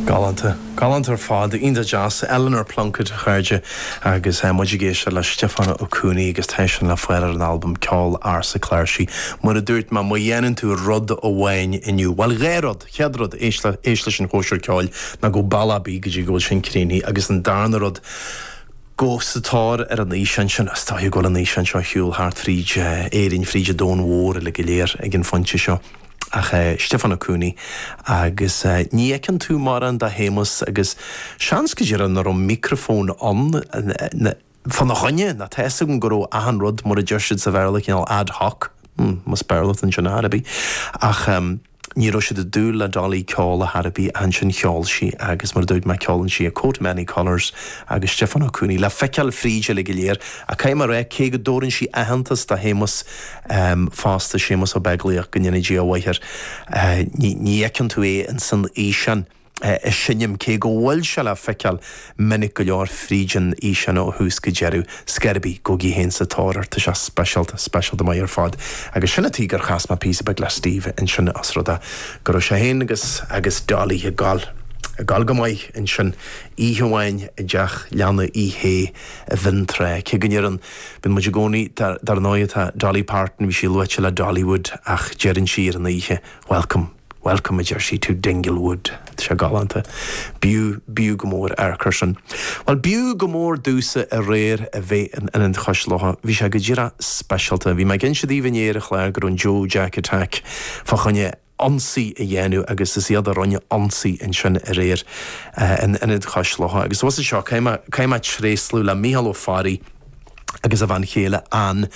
Galánta. Galánta ar fad. Iontach deas. Eleanor Plunkett, a chairde, agus muid ag éisteacht le Stiofán Ó Cuanaigh agus tá sin le fáil ar an albam Ceol Ársa Cláirsí. Mar a dúirt mé, má dhéanann tú rud amháin inniu, bhuel, dhá rud, chéad rud, éist le, éist leis an chóisir ceoil, ná gabh bealach ar bith go dtí go bhfuil sin críochnaithe, agus an darna rud, gabh sa tóir ar an fhíseán sin. Is dóigh go bhfuil an fhíseán seo ar shiúl thart fríd Éirinn, fríd an domhan mhór uilig go léir ag an phointe seo. Ach Stiofán Ó Cuanaigh agus ní fheiceann tú mórán de Shéamus agus seans go díreach nach raibh micreafón ann fána choinne, nó tá fhios agam go raibh achan rud, mar a deir siad sa Bhéarla, cineál ad hoc, más Béarla atá ansin ar chor ar bith. Ach ní raibh siad ag dúil le Dolly ceol ar chor ar bith ach ansin cheol sí agus mar a dúirt mé ceolann sí A Coat of Many Colours agus Stiofán Ó Cuanaigh le feiceáil fríd uilig go léir. Ach caithfidh mé a rá, cé go dtabhrann sí aitheantas do Shéamus, fosta, Séamus Ó Beaglaoich, go ndéana Dia a mhaith air. Ní fheiceann tú é ins an fhíseán ag seinm, cé go bhfuil sé le feiceáil minic go leor fríd an fhíseán ó thús go deireadh. 'S cibé ar bith, gabhaigí féin sa tóir air, tá sé speisialta, speisialta maith ar fad. Agus sin an tuige gur chas mé píosa beag le Steve ansin os rud é go raibh sé féin agus agus Dolly ag gabháil, ag gabháil go maith ansin oíche amháin i dteach leanna Uí Shé i bhFionntrá, cé go ndeireann Bíonn muid i gcónaí, dar ndóigh tá Dolly Parton, bhí sí luaite le Dollywood ach deireann sí ar an oíche, Welcome, welcome a deir sí, to Dinglewood. Tá sé galánta. B'fhiú, b'fhiú go mór amharc air sin. Bhuel, b'fhiú go mór domhsa aréir a bheith in Ionad Chois Locha. Bhí sé go díreach speisialta. Bhí mé ag inse daoibh inné ar an chlár go raibh an Joe Jack Attack fá choinne ionsaí a dhéanamh agus is iad a rinne ionsaí ansin aréir in Ionad Chois Locha. Agus thuas anseo, caithfidh mé, caithfidh mé tréaslú le Mícheál Ó Fearraigh agus a bhean chéile Ann.